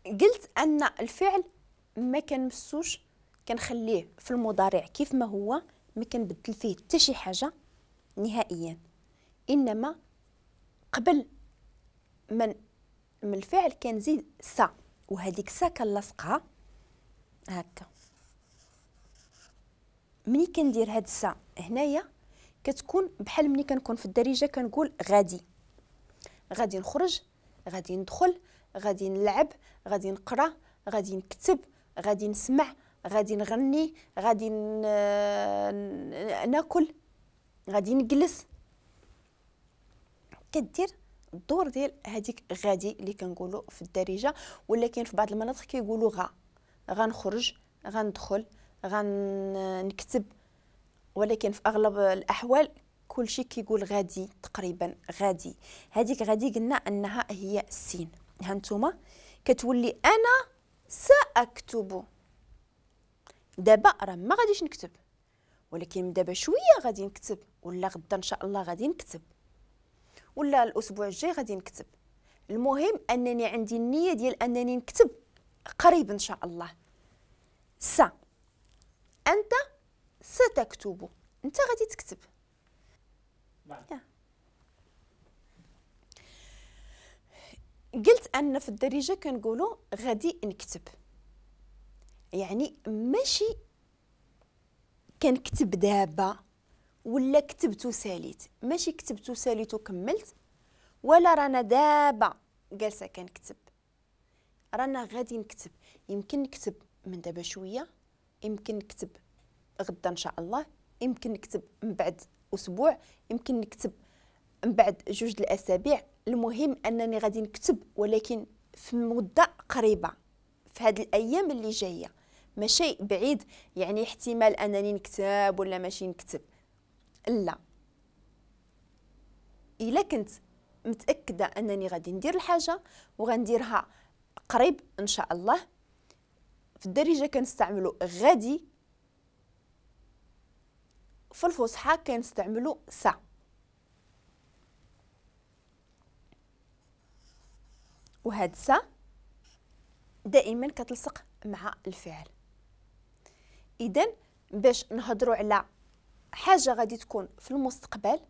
قلت ان الفعل ما كنمسوش، كنخليه في المضارع كيف ما هو، ما كنبدل فيه حتى شي حاجة نهائيا، انما قبل من الفعل كنزيد س، وهذيك س كنلصقها هكا. ملي كندير هاد س هنايا كتكون بحال ملي كنكون في الدارجة كنقول غادي، غادي نخرج، غادي ندخل، غادي نلعب، غادي نقرا، غادي نكتب، غادي نسمع، غادي نغني، غادي ناكل، غادي نجلس. كدير الدور ديال هذيك غادي اللي كنقولوا في الدارجة، ولكن في بعض المناطق كيقولوا غا، غنخرج، غندخل، غنكتب، ولكن في اغلب الاحوال كلشي كيقول غادي تقريبا. غادي هذيك غادي قلنا انها هي السين. ها نتوما كتولي انا ساكتب. دابا راه ما غاديش نكتب، ولكن دابا شوية غادي نكتب، ولا غدا ان شاء الله غادي نكتب، ولا الاسبوع الجاي غادي نكتب. المهم انني عندي النية ديال انني نكتب قريب ان شاء الله. س، انت ستكتب، انت غادي تكتب. قلت ان في الدارجة كنقولوا غادي نكتب، يعني ماشي كنكتب دابا ولا كتبت وساليت، ماشي كتبت وساليت وكملت، ولا رانا دابا جالسة كنكتب، رانا غادي نكتب. يمكن نكتب من دابا شوية، يمكن نكتب غدا ان شاء الله، يمكن نكتب من بعد اسبوع، يمكن نكتب من بعد 2 الاسابيع. المهم انني غادي نكتب، ولكن في مده قريبه، في هاد الايام اللي جاية، ماشي بعيد، يعني احتمال انني نكتب ولا ماشي نكتب. لا، الا كنت متاكدة انني غادي ندير الحاجة وغنديرها قريب ان شاء الله. في الدارجة كنستعملوا غادي، في الفصحى كنستعملوا س. وهاد س دائما كتلصق مع الفعل. اذا باش نهضروا على حاجة غادي تكون في المستقبل،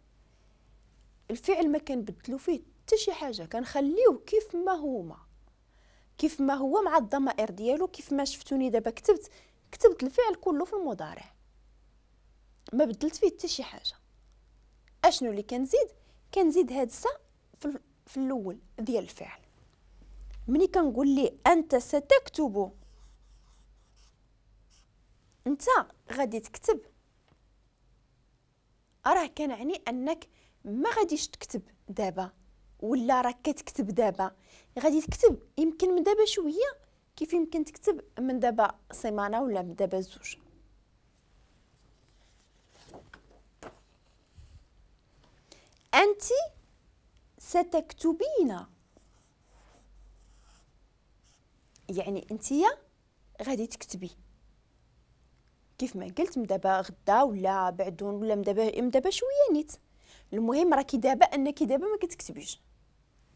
الفعل ما كنبدلو فيه حتى شي حاجة، كنخليوه كيف ما هو، كيف ما هو مع الضمائر ديالو. كيف ما شفتوني دابا كتبت الفعل كله في المضارع، ما بدلت فيه حتى شي حاجة. اشنو اللي كنزيد؟ كنزيد هاد س في الاول ديال الفعل. ملي كنقول ليه انت ستكتب، انت غادي تكتب، راه كنعني انك ما غاديش تكتب دابا، ولا راك كتكتب دابا، غادي تكتب يمكن من دابا شوية، كيف يمكن تكتب من دابا سيمانه ولا من دابا زوج. انت ستكتبين، يعني انتيا غادي تكتبي كيف ما قلت من دابا غدا ولا بعدون ولا من دابا شوية نيت. المهم راكي دابا انك دابا ما كتكتبيش.